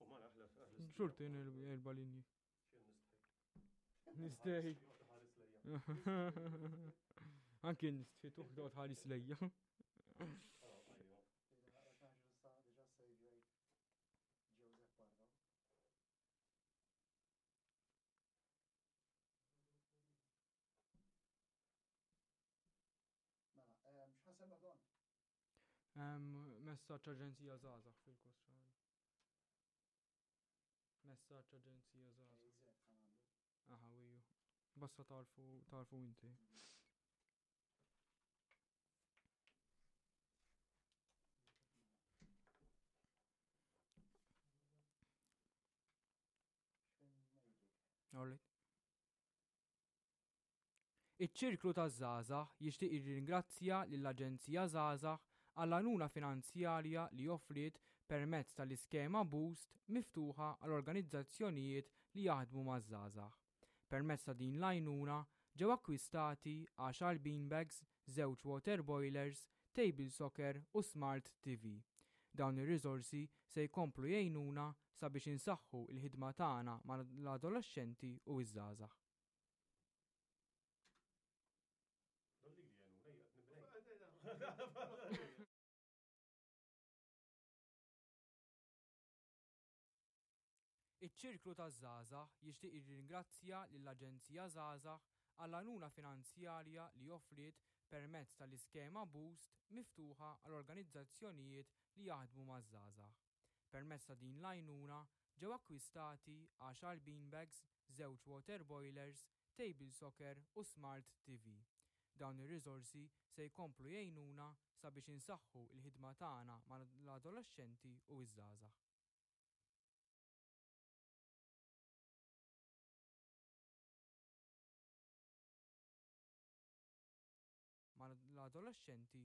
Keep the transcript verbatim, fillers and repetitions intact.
U ma naħlef. Xorta jien erba' linji. Xejn nistħi. Nistħi. Ħares lejja. Anki nistħi tuħ toqgħod ħares lejja. Ejja. Diġà sejvjajt Joseph Barra. Mela, x'ħa nsemmu Don? Messaġġ Aġenzija Żgħażagħ fil-kostra. Messaġġ Aġenzija Żgħażagħ. Aha, wiju. Basta tarfu tarfu inti. All right. Iċ-Ċirklu taż-Żgħażagħ jixtieq jirringrazzja lill-Aġenzija Żgħażagħ għall-għajnuna finanzjarja li offriet permezz tal-iskema Boost miftuħa għal organizzazzjonijiet li jaħdmu maż-żgħażagħ. Permezz ta' din l-għajnuna ġew akkwistati għaxar beanbags, żewġ water boilers, table soccer u smart T V. Dawn ir-riżorsi se jkomplu jgħinuna sabiex insaħħu l-ħidma tagħna mal-adolexxenti u ż-żgħażagħ. Dolli li jenu, lejja, nibnej. Iċ-Ċirklu taż-Żgħażagħ jixtieq jirringrazzja lill-Aġenzija Żgħażagħ għall-għajnuna finanzjarja li offriet permezz tal-iskema Boost miftuħa għal organizzazzjonijiet li jaħdmu maż-żgħażagħ. Permezz ta' din l-għajnuna ġew akkwistati għaxar beanbags, żewġ water boilers, table soccer u smart T V. Dawn ir-riżorsi se jkomplu jgħinuna sabiex insaħħu l-ħidma tagħna mal-adolexxenti u ż-żgħażagħ. Mal-adolexxenti.